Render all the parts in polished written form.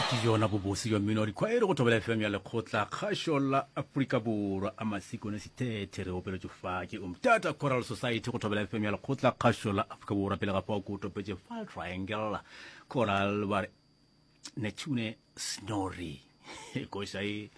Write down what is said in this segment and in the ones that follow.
Ke yona bobose jwa mmino wa dikhwaere go thobela FM ya lekgotla kgašo la Afrika Borwa a Masikone Sithethe re opeletše fa ke Umtata Choral Society go thobela FM ya lekgotla kgašo la Afrika Borwa pele ga fao ko topetše Fal Triangle Choral ba re Neptune Snorri koša e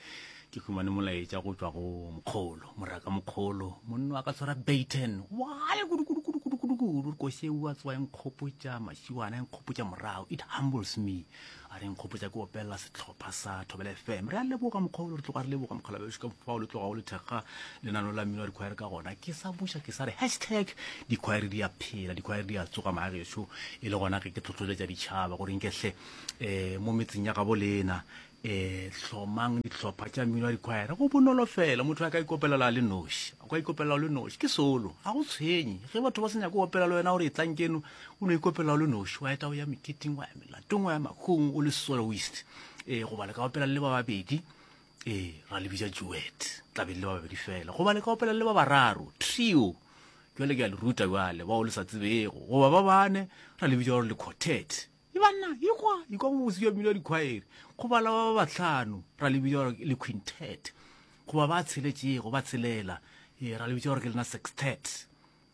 ke humane molaetša go tšwa go mokgolo moraka mokgolo monna wa ka tshwara baton wale kudu-kudu-kudu-kudu-kudu koše ua tsoa e nkgopotša mašiwana e nkgopotša morago it humbles me a re nkgopotša ke opelela sehlopha sa thobela fm re a leboga mokgolo re tloga re leboga mokgolabešo ka fao le tloga o le thekga lenano la mmino wa dikhwaere ka gona ke sa buša ke sa re hashtag dikhwaere di a phela dikhwaere di a tsoga maagešo e le gona ge ke tlhotlholetša ditšhaba gore nkehle um mo metseng ya gabo lena um hlomang dihlopha tša mmino wa dikhwaere go bonolo fela motho a ka ikopelela a le noši a ka ikopelela o le noši ke solo ga go tshwenye ge batho ba se nyako opela le wena gore e tlang keno o no ikopela o le noši wa eta o ya meketeng wa ya melatong wa ya makhong o le soloist um goba le ka opela le ba babedi ee ra le bitša duet tla be le ba babedi fela goba le ka opela le ba bararo trio jale ke a le ruta jale bao le sa tsebego goba ba bane ra le bitša gore le quartet e banna ikwa ikwa bobose jwa mmino wa dikhwaere goba la ba bahlano ra le bitša gore le quintet goba ba tsheletšego ba tshelela ee ra le bitša gore ke lena sextet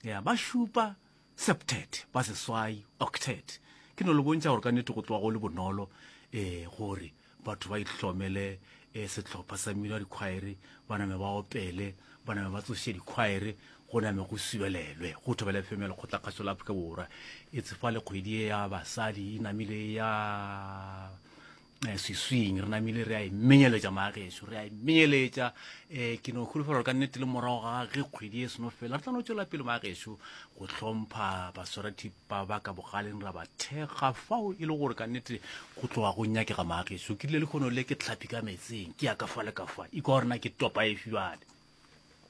ya ba šupa septet ba seswai octet ke no le bontšha gore ka nnete go tloga go le bonolo um gore batho ba ihlomele um sehlopha sa mmino wa dikhwaere ba name ba opele ba name ba tsoše dikhwaere go name go subelelwe go thobela fm ya lekgotlakgašo la afrika borwa e tsefale kgwedi e ya basadi e namile ya eh, swiswing re namile re a e menyeletša maagešo re a e menyeletša um ke no holofela gore ka nnete le morago ga ge kgwedi e seno fela re tla no tšwela pele maagešo go hlompha baswarathipa ba ka bogaleng ra ba thekga fao e le gore ka nnete go tloga go nyakega maagešo ke rile lekgono le ke tlhapi ka metseng ke ya ka fa le ka fa ikwa gore na ke topa efe bjale.